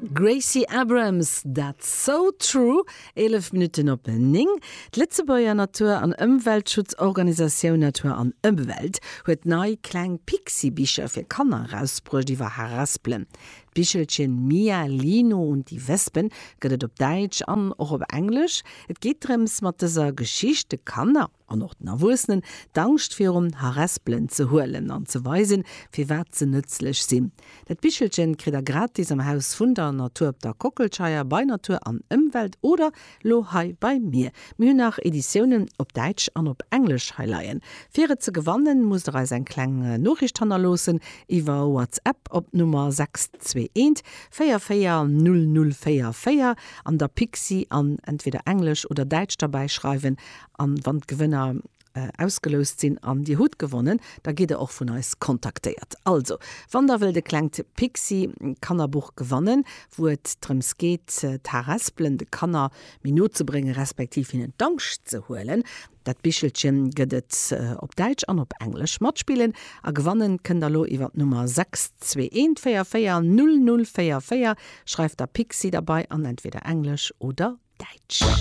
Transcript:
Gracie Abrams, That's So True, 11 Minutten op 9. D'Lëtzebuerger Natur an Ëmweltschutzorganisatioun Natur an Ëmwelt huet nei kleng Pixi-Bicher fir Kanner erausbruecht iwwer Harespelen. D'Bichelchen Mia, Lino und die Wespen gëtt et op Däitsch an och op Englesch. Et geet drëms, mat dëser Geschicht de Kanner, an och den Erwuessenen, d'Angscht virum Harespelen ze huelen an ze weisen, firwat se nëtzlech sinn. Dat Bichelchen kritt der gratis am Haus vun der Natur op der Kockelscheier bei Natur an Ëmwelt oder lo hei bei mir. Mir hunn nach Editiounen op Däitsch an op Englesch hei leien. Fir et ze gewannen, musst der eis eng kleng Noriicht hannerloossen iwwer WhatsApp op d'Nummer 621 44 00 44 an der Pixi an entweder Englesch oder Däitsch derbäi schreiwen An wann d'Gewënner ausgeloust sinn an dir hutt gewonnen, da gitt der och vun eis kontaktéiert. Also, wann der wëllt e klengt Pixi-Kannerbuch gewannen, wou et drëms geet, d'Harespelen de Kanner méi no ze bréngen, respektiv hinnen d'Angscht ze huelen, dat Bichelchen gëtt et op Däitsch an op Englesch. Matspillen a gewannen kënnt der lo iwwer d'Nummer 621 44 00 44. Schreift der Pixi derbei an entweder Englesch oder Däitsch.